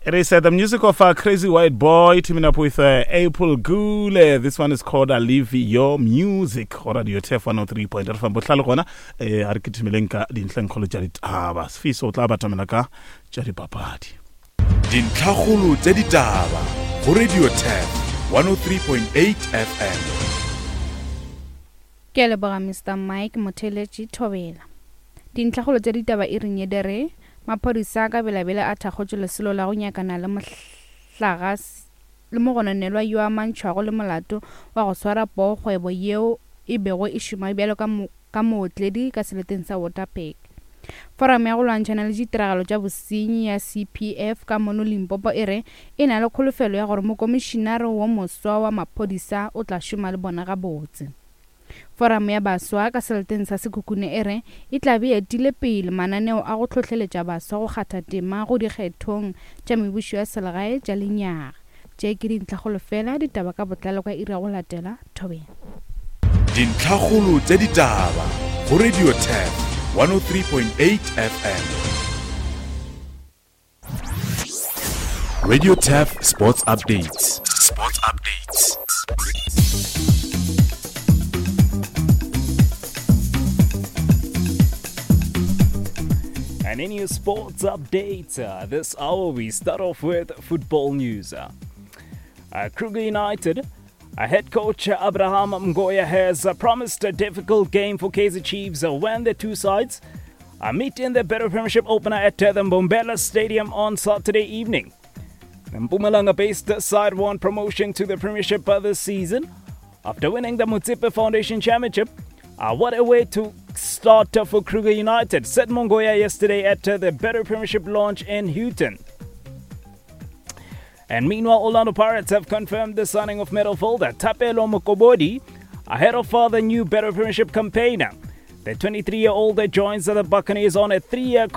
It is uh, the music of uh, Crazy White Boy teaming up with uh, April Gule. This one is called uh, Live Your Music. Go Radio TF 103.5 FM. Bohlale gona eh a re kitimeleng ka dintlhengkgolo tša ditaba. Sefiso o tla batamela ka tša dipapadi. Dintlhakgolo tša ditaba go Radio TF 103.8 FM. Ke a leboga Mister Mike Motheletši Thobela. Dintlhakgolo tša ditaba e reng ye di re, Maphodisa ka belabela a thakgotše lesolo la go nyakana le mohlaga le mogononelwa yo a amantšhwago le molato wa go swara poo kgwebo yeo e bego e šoma bjalo ka ka mootledi ka seleteng sa Waterberg. Foramo ya go lwantšhana le ditiragalo tša bosenyi ya CPF ka mono Limpopo e re e na le kholofelo ya gore mokomišinare wo moswa wa maphodisa o tla šoma le bona gabotse. Foramo ya Baswa ka seleteng sa Sekhukhune e re e tla be e etile pele mananeo a go hlohleletša baswa go kgatha tema go dikgethong tša mebušo ya selegae tša lenyaga. Tše ke dintlhakgolo fela, ditaba ka botlalo ka iri ya go latela. Thobela. Dintlhakgolo tša ditaba go Radio Turf 103.8 FM. Radio Turf Sports Updates. Sports Updates. And in your sports updates, uh, this hour we start off with football news. Uh, uh Kruger United uh, head coach Abraham Mgoya has uh, promised a difficult game for Kaizer Chiefs uh, when the two sides uh, meet in the Betway Premiership opener at the Mbombela Stadium on Saturday evening. The Mpumalanga-based side won promotion to the Premiership this season after winning the Motsepe Foundation Championship. Uh, what a way to start for Kruger United, said Mongoya yesterday at uh, the Betway Premiership launch in Houghton. And meanwhile, Orlando Pirates have confirmed the signing of midfielder Thapelo Mokobodi ahead of the new Betway Premiership campaigner. The 23-year-old joins the Buccaneers on a three-year